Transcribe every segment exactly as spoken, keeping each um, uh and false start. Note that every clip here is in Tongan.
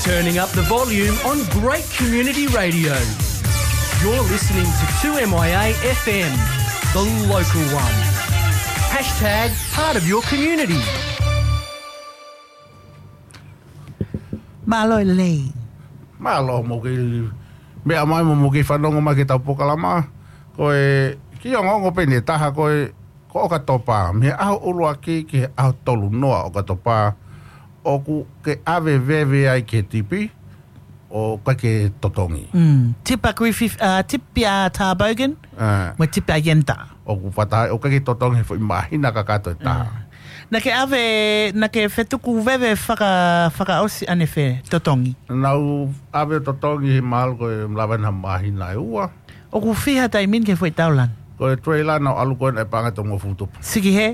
Turning up the volume on great community radio. You're listening to two M I A F M, the local one. Hashtag part of your community. Mālō e lelei. Mālō mo ke meʻa mai mo mo ke fanongo mai ke tau pokalama. Ko e ki ongoongo pē ne taha ko e ko ʻOkatopa. Mei he ʻaho ʻuluaki ki he ʻaho tolu noa ʻOkatopa. ʻOku ke ʻave veve ai ke tipi. ʻO ka ke totongi. Mm. Tipa Griffith, uh, Tipa Tarbogan. Ah. Mo Tipa Yenta. ʻOku fata, ʻo ka ke totongi he foʻi māhina kakato e taha. Ah. Na ke ʻave, na ke fetuku veve faka, fakaʻosi ane fe, totongi. Nau ʻave totongi he mahalo ko e lava na māhina e ua. ʻOku fiha taimi ni ke foʻi taulan. Ko e trailer nau ʻalu ko e na e panga tongo futupu. Siki he,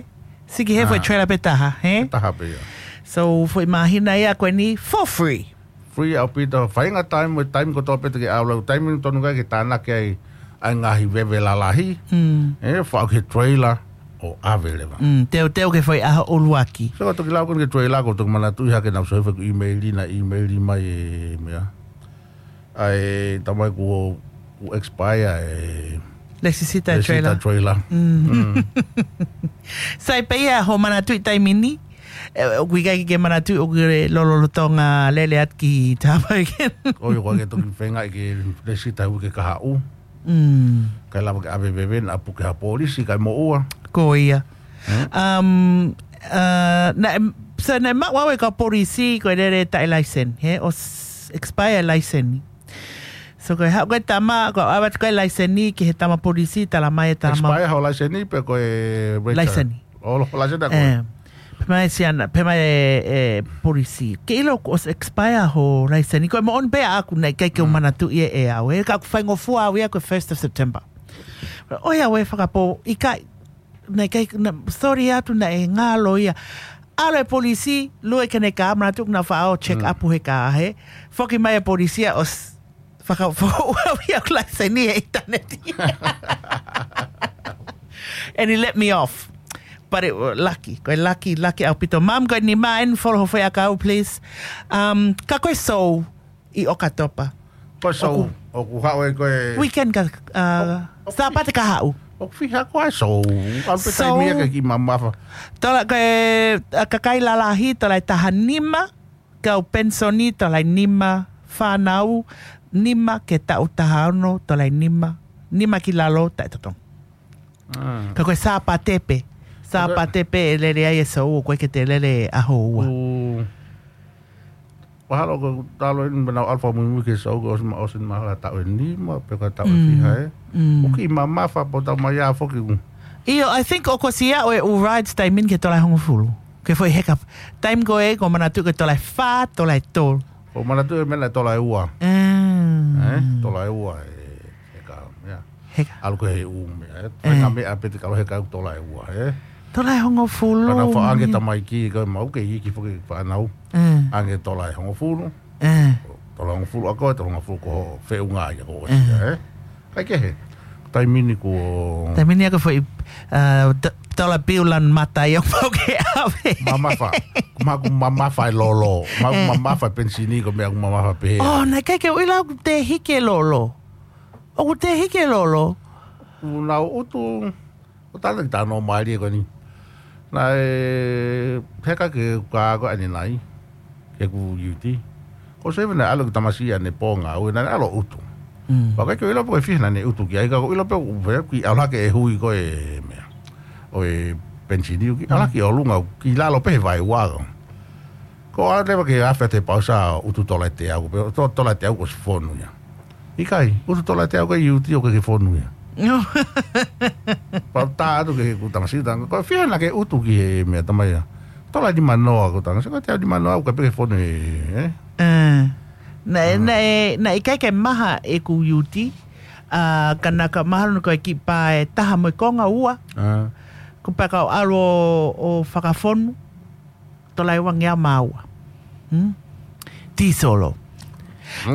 siki he foʻi trailer pē taha, he? Taha pē ia. So, foʻi māhina ia ko eni for free. Free ʻaupito, fainga taimi, mo e taimi kotoa pē te ke ʻalu, taimi tonu kai ke tānaki ai ʻa e ngaahi veve lalahi. Mm. E, faʻu ke trailer ʻo ʻave leva. Mm, teu teu ke foʻi ʻaho ʻuluaki. So, ko toki lau ko ke trailer, ko toki manatuʻi hake nau soifa ku email na, email mai e mea. ʻA e tamai ku, ku expire e Lesisita e trailer. Trailer. Mm. Sai pē ia ho manatuʻi taimi ni. E, ʻoku ʻikai ke manatuʻi ʻoku ke lololotonga lele atu ki Tarbogan. ʻOi, ʻoku ke toki fenga i ke lesisita hui ke kahaʻu. Mm. Kai lava ke ʻave veve na ʻapu ke ha polisi kai moʻua. Ko ia. Um, uh, na, so na maʻu au e ka polisi ko e lele taʻe laisen, he, ʻo s- expire laisen. So ko e haʻu ko e tama, ko e ʻave atu ko e laiseni ki he tama polisi, tala mai e tama. Expire ho laiseni pe ko e return? Laiseni. O, ho laiseni ako. E, pe mai siana, pe mai e, e polisi. Ke ʻilo ko e expire ho laiseni. Ko e moʻoni pē ʻaʻaku naʻe ʻikai ke u manatuʻi e au. E ka ʻoku faingofua au ia ko e first of September. ʻOi au e fakapō, ʻikai, naʻe ʻikai, na, sorry atu naʻe ngalo ia. ʻAlu e polisi, lue ke ne ka manatuʻi na faʻo check up he ka he. Foki mai e polisi ia ʻo s- Faka-, fakaʻuʻuhi ʻeku laiseni he ʻinitaneti. And he let me off. But it was lucky. Ko e lucky, lucky ʻaupito. Mum, ko e nima, and follow ho foʻi ʻakau, please. Um, ka ko e show ʻi ʻOkatopa. Ko e show, ʻoku, ʻoku haʻu e ko e weekend ka, uh, Sāpate ka haʻu. ʻOku fiha ko e show. ʻAlu pē taimi ia ke kiʻi mamafa. Tola ko e, uh, kakai lalahi, tola e taha nima. Kau penisoni tola e nima, fānau nima ke taʻu taha ono tola e nima, nima ki lalo taʻe totongi. Ka ko e Sāpate pē, Sāpate pē e lele ai e show, ʻoku ʻikai ke te lele ʻaho ua. Mahalo ko e talo eni mena ʻalu fakamuimui ke show ko e ʻosi ma, ʻosi mahalo taʻu ʻe nima pe ko e taʻu ʻe fiha e. ʻOku kiʻi mamafa pea tau mai ʻa foki ʻoku. ʻIo, I think ʻoku ʻosi ia ʻa e ʻū rides taimi ni ki he tola ʻe hongofulu. Ke foʻi heka. Taimi ko ē, ʻoku ou manatuʻi ko e tola ʻe fā, tola ʻe tolu. ʻOku ou manatuʻi e meʻa naʻe tola ʻe ua. Mm. E, tola ʻe ua e heka, ia. Heka. ʻAlu ko e ʻū meʻa, e. Fai ngā meʻa pē te kalo heka ʻoku tola ʻe ua, e. Tola ʻe hongofulu. Pea nau faʻa ʻange tamaiki, ko e mau ke iiki foki fānau. Mm. ʻAnge tola ʻe hongofulu. Mm. Tola ʻe hongofulu ʻa koe, tola ʻe hongofulu ko hoʻo feʻunga ia ko ʻosi ia, e. Kai kehe. Taimi ni kuo. Taimi ni ʻoku foʻi, uh, t-, tola piu lan mata ia ʻoku mau ke ʻave. Mamafa. Ko maku mamafa e lolo. Maku mamafa e penisini ko e meʻa ʻoku mamafa pē. Oh, naʻe ʻikai ke u ʻilo ʻoku te hiki e lolo. ʻOku te hiki e lolo. Kuo nau ʻutu. ʻO tana ki tano mai lie ko eni. Naʻe heka ke ka ko ʻanenai. Ke ku U T. Ko se vena ʻalu ki tamasiʻi ʻanepō ngāue naʻe ʻalu ʻutu. Mm. Pea ʻikai ke u ʻilo pe ko e fiha naʻa ne ʻutu ki ai ka ʻoku ou ʻilo pe ʻoku ou fea ki ʻalu hake e hui ko e meʻa. ʻO e penisini ʻoku ʻalu hake ʻo lunga ki lalo pē he vaeua. Ko e ʻalu leva ke afe atu he pausa ʻutu tola ʻe teau, pe to-, tola ʻe teau ko e ʻosi fonu ia. ʻIkai, ʻutu tola ʻe teau ko e U T ʻoku ʻikai ke fonu ia. Pea u tā atu ki heʻeku tamasiʻi, tā ange, ko e fiha naʻa ke ʻutu ki he meʻa tamai ia. Tola ʻe nima noa ko e tā ange, sai ko e teau nima noa ʻoku ʻikai pē ke fonu ia, e? E. Naʻe, naʻe, naʻe ʻikai ke maha ʻeku U T, ʻa, ka naʻa ka maha lona ko e kiʻi pā ʻe taha mo e konga ua. A. Ko e pea kau ʻalu ʻo, ʻo fakafonu. Tola ʻe uangeau mā ua. Hmm? Tīsolo.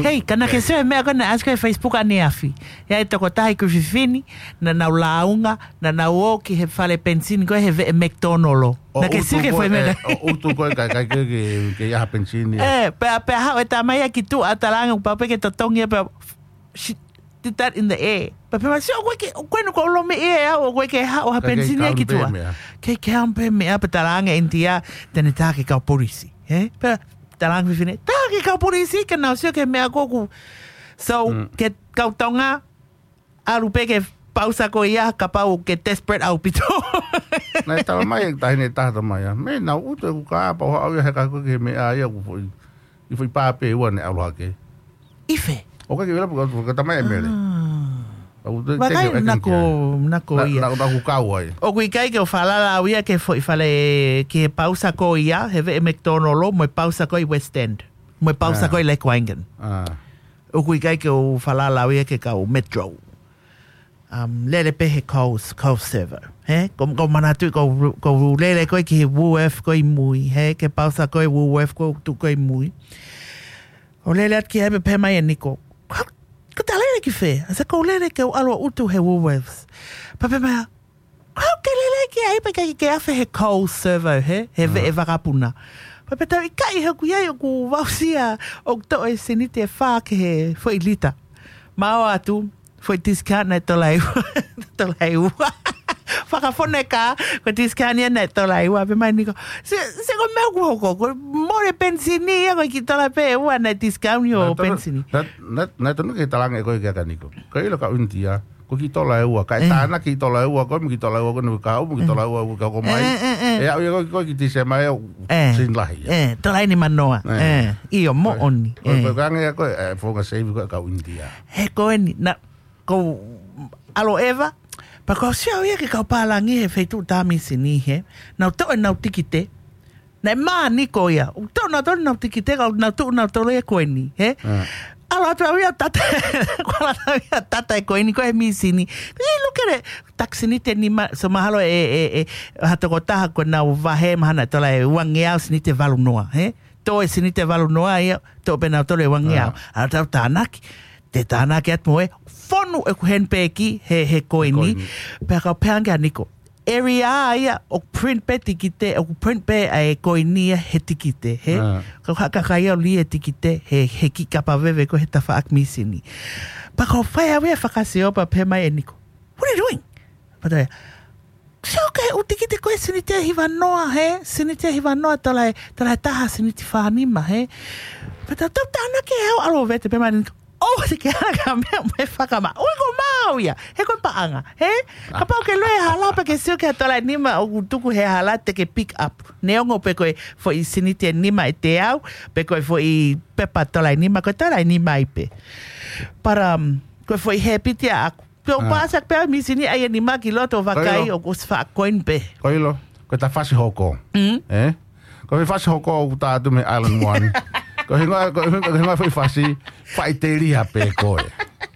Hei, ka naʻá ke sio he meʻa ko ē naʻe ʻasi ko ē he Facebook ʻaneafi. ʻI ai e tokotaha ʻi Kuififini, naʻa nau lāunga, naʻa nau ō ki he fale penisini ko ē he veʻe McDonald. Naʻá ke sio ki he foʻi meʻa ko ē, ʻo ʻutu ko ē ka, ka, ke, ke, ke ʻi ai ha penisini. Ē, pea, pea haʻu e tama ia ki tuʻa ʻo talaange ʻoku pau pē ke totongi ia pea, she did that in the air. Pea pehē mai, "Sio, ʻoku ʻikai ke, ʻoku ʻikai ke u lomiʻi ʻe au, ʻoku ʻikai ke haʻu ha penisini ia ki tuʻa." Kei ke haʻu pē meʻa, pea talaange ʻe ʻInitia te ne tā ki he kau polisi. Hē? Pea talaange fefine, tā ki he kau polisi, ke nau sio ki he meʻa ko ē ʻoku. So, ki he kau Tonga, ʻalu pē ki he pausa ko ia, kapau ʻoku ke desperate ʻaupito. Naʻe talamai ʻe he taʻahine ʻe taha mai ia, mei nau ʻutu ʻeku kā pea u haʻu ia he ka ko ē ki he meʻa ia ʻoku foʻi, ʻi foʻi pā pē ua ne ʻalu hake. ʻI fē? ʻOku ʻikai ke u ʻilo pe ko e talamai ʻe Mele. Vakai, nako, nako ia. Naʻá ku kau ai. ʻOku ʻikai ke u falala au ia ki he foʻi fale, ki he pausa ko ia, he veʻe McDonald, mo e pausa ko ē ʻi West End. Mo e pausa ko ē ʻi Lake Waingan. ʻOku ʻikai ke u falala au ia ki he kau Metro. Um, lele pē he Coles, Coles server. Hē? Ko, ko manatu, ko, ko lele ko ē ki he Woolworth ko ē ʻi mui. Hē? Ki he pausa ko ē Woolworth ko ē tuʻu ko ē ʻi mui. ʻO lele atu ki ai pea pehē mai ʻe Niko, "Ko, ko e lele ki fē?" ʻAi, "Ko e lele ke u ʻalu ʻo ʻutu he Woolworths." Pea pehē mai, "Ko e lele ki ai pea ʻikai ke afe he Coles server, hē? He veʻe vakapuna." Pea pehē atu, "ʻIkai, he ʻoku ʻi ai ʻoku voucher, ʻoku toʻo e seniti ʻe fā ki he foʻi lita." Mou ō atu, foʻi discount naʻe tola ʻe ua. Tola ʻe ua. Fakafonu e kā, ko e discount ia naʻe tola ʻe ua. Pehē mai ʻe Niko, "Sio, sio ko e meʻa ʻoku hoko, ko e mole penisini ia, ko e kiʻi tola pē ʻe ua naʻe discount ʻi hoʻo penisini." Naʻe tonu, naʻe, naʻe, naʻe tonu ke talaange ko ē kia Niko. Ko e ʻilo kau ʻInitia, ko e kiʻi tola ʻe ua, kae tānaki e kiʻi tola ʻe ua, ko e kiʻi tola ʻe ua, ko e kiʻi kau, kiʻi tola ʻe ua, ko e kau mai. ʻE, ʻe, ʻe. ʻE aʻu ia ko e, ko e kiʻi Tīsema ʻe, sini lahi ia. ʻE, tola ʻe nima noa. ʻE, ʻio, moʻoni. Ko e, ko e kaunga ia ko e, ʻe, founga save ko ē kau ʻInitia. He ko eni, naʻá ku ʻalu ʻeva, pea ko e sio ia ki he kau pālangi he feituʻu tā misini hē, nau toʻo ʻenau tikite, naʻe mā Niko ia. ʻOku toʻo nautolu ʻenau tikite, ka nau tuʻu nautolu ia ko eni, hē? ʻAlu atu au ia ʻo tata, ko e ʻalu atu au ia ʻo tata e koini ko ē he misini. He look at it, taki seniti ʻe nima, so mahalo ʻe, ʻe, ʻe, ha tokotaha ko ʻenau vahe mahalo naʻe tola ʻe uangeau seniti ʻe valu noa, hē? Toʻo e seniti ʻe valu noa ia, toʻo pē nautolu e uangeau. ʻAlu atu au ʻo tānaki, te u tānaki atu mo e fonu ʻeku handbag he, he koini. Pea kau pehē ange kia Niko, area ia ʻoku print pē tikite, ʻoku print pē ʻa e koini ia he tikite, hē? Kau haʻu ʻo kai au lī e tikite he, he kiʻi kapa veve ko ē he tafaʻaki misini. Pea kau fai au ia e fakasio pea pehē mai ʻe Niko, "What are you doing?" Pea tau ia, "Sio ki he ʻū tikite ko ē seniti ʻe hiva noa, hē? Seniti ʻe hiva noa, tola ʻe, tola ʻe taha seniti fā nima, hē?" Pea tau, tau tānaki ʻe au ʻalu ʻo vete, pehē mai ʻe Niko, "ʻOua te ke ʻalu ʻo meʻa mo e fakamaʻa. ʻOku ʻikai ko maau ia. He ko e paʻanga, hē? Kapau ʻoku ke lue he hala pea ke sio ki he tola ʻe nima ʻoku tuku he hala te ke pick up. Neongo pe ko e foʻi seniti ʻe nima ʻe teau, pe ko e foʻi pepa tola ʻe nima, ko e tola ʻe nima ai pē." But, um, ko e foʻi hēpiti ʻaʻaku. Pea u paasi ʻaku pē au misini ʻai ʻe nima ki loto ʻo vakai ʻoku ʻosi faʻa koini pē. Ko e ʻilo, ko e tā fasi hoko. Ē? Ko e fasi hoko ʻoku tā atu mei he Island One. Ko e hingoa, ko e hingoa, ko e hingoa foʻi fasi, Faʻiteliha pē koe.